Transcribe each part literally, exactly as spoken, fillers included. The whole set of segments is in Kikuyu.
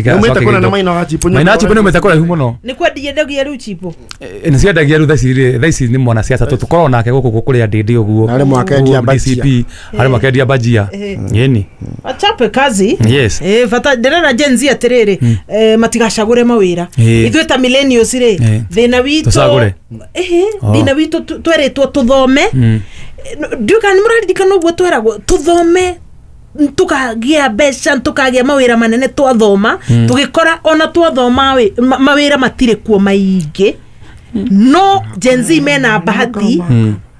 Umĩte kũnene Maina wa Chipo. Maina wa Chipo nĩ umĩte kũraihu mũno. Nĩ kwendia rĩu Chipo. Nĩ ciendagia rĩu thaa ici rĩ, thaa ici nĩ mwanasiasa tũkoragwo nake gũkũ kũrĩa ndĩndĩ ũguo. Arĩ mwakendia D C P, arĩ mwakendia bajia. Yeni. Wachape kazi. Yes. Eh, bata ndĩrera Gen Z atĩrĩrĩ, eh, matigacagũre mawĩra. Ithuĩ ta millennials rĩ, thĩna witũ tũcagũre. Eh, thĩna witũ tweretwo tũthome. Ndiũĩ kana nĩ mũraririkana ũguo tweragwo tũthome tukagĩa mbeca tukagĩa mawĩra manene twathoma, tũgĩkora ona twathoma mawĩra matirĩ kuo maingĩ. No Gen Z mena bahati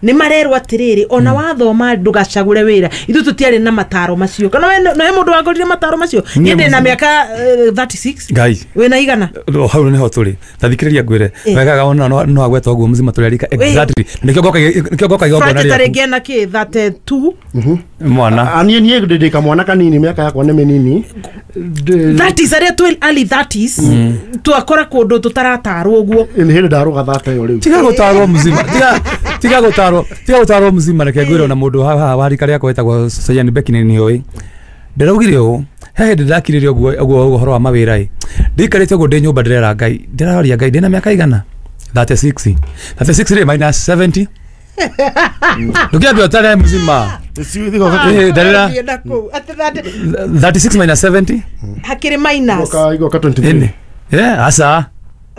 nĩ marerwo atĩrĩrĩ ona wathoma ndũgacagũre wĩra. Ithuĩ tũtiarĩ na mataro macio. Kana we no he mũndũ wangorire mataro macio? Niĩ ndĩ na mĩaka thirty six. Ngai. Wĩna igana? Hau nĩho tũrĩ. Ta thikĩrĩria ngwĩre. Wega ona no agweta ũguo mzima tũrĩ arika exactly. Nĩkĩo ngoka nĩkĩo ngoka igongona rĩaku. Tarĩngĩ ena kĩ thirty two. Mwana. Niĩ niĩ ndĩ kamwana kanini mĩaka yakwa nĩ mĩnini. thirties arĩa twĩ early thirties twakora kũndũ tũtaratarwo ũguo. Nĩ hĩndĩ ndarũga thate ĩyo rĩu. Tiga gũtarwo mzima. Tiga tiga gũtarwo tiga gũtarwo mzima reke ngwĩre ona mũndũ haha wa rika rĩakwa wĩtagwo Sayan Becky nĩ nĩoĩ. Ndĩraugire ũũ, he hĩndĩ ndakirire ũguo ũguo ũhoro wa mawĩra ĩ. Ndĩikarĩte ũguo ndĩ nyũmba ndĩrera Ngai, ndĩraroria Ngai ndĩna mĩaka igana? thirty six. thirty six rĩ minus seventy. Ndũkĩambia ũtare mzima. Eh, ndarĩra thirty six minus seventy. Hakĩrĩ minus. Igoka twenty three. Yeah, asa.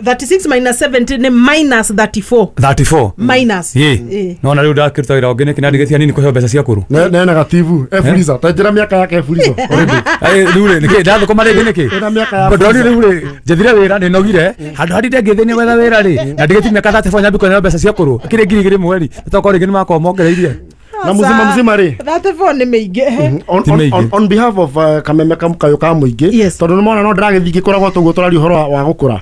thirty six minus seventy ni minus thirty four. thirty four. Minus. Ye. No na rĩu ndakĩruta wĩra ũngĩ nĩkĩ ndandigĩtia nini kũheo mbeca cia kũrũ. Ne ne negative. E freezer. Ta njĩra mĩaka yake e freezer already. Ai rĩu rĩ nĩkĩ ndathũkũma rĩngĩ nĩkĩ? Ĩna mĩaka ya. Ndorire rĩu rĩ njethire wĩra nĩ nogire. Handũ harĩa ndengĩthĩ nĩ gwetha wĩra rĩ. Na ndigĩtie mĩaka thirty four nyambi kũheo mbeca cia kũrũ. Akĩrĩ ngiri igĩrĩ mweri. Tokorwo rĩngĩ nĩ makorwo mongereirie. Na muzima muzima rĩ thirty four nĩ mĩingĩ. On, on, on, on behalf of uh, Kameme Kamukayo ka mũingĩ, tondũ nĩ mona no ndĩragĩthiĩ ngĩkũragwo toguo tũraria ũhoro wa gũkũra.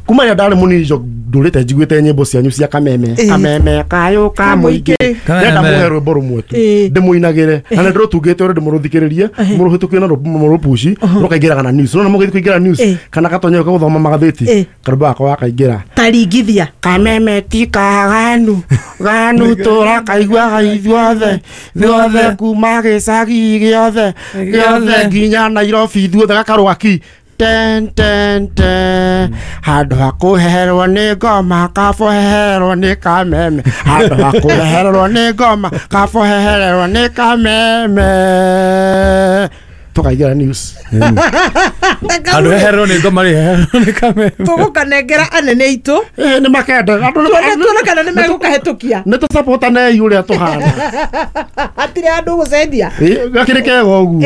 Kuma rĩrĩa ndarĩ mũnini ndũrĩte njiguĩte nyĩmbo cianyu cia Kameme. Kameme kayo ka mũingĩ. Ndĩrenda mũhe rwĩmbo rũmwe tu ndĩmũinagĩre na nĩ ndĩrũtungĩte ũrĩa ndĩmũrũthikĩrĩrie mũrũhĩtũkie na mũrũpuci rũkaingĩraga na news. Nona mũgĩthiĩ kũingĩra news kana gatonye gũthoma magathĩti karũmbo gakwa gakaingĩra taringithia Kameme ti kaganu ganu tũrakaiguaga ithuothe ithuothe kuma gĩcagi gĩothe gĩothe nginya Nairobi ithuothe gakarũga ki ten ten ten handũ ha kũheherwo nĩ ngoma kaboheherwo nĩ Kameme handũ ha kũheherwo nĩ ngoma kaboheherwo nĩ Kameme tukaingĩra news. Handũ heherwo nĩ ngoma rĩ heherwo nĩ Kameme tũgũkanengera anene aitũ. Eh nĩ makenda tuone kana nĩ megũkahĩtũkia. Nĩ tũcapotanei ũrĩa tũhana. Hatirĩ handũ gũcenjia. Gakĩrĩ kega ũguo.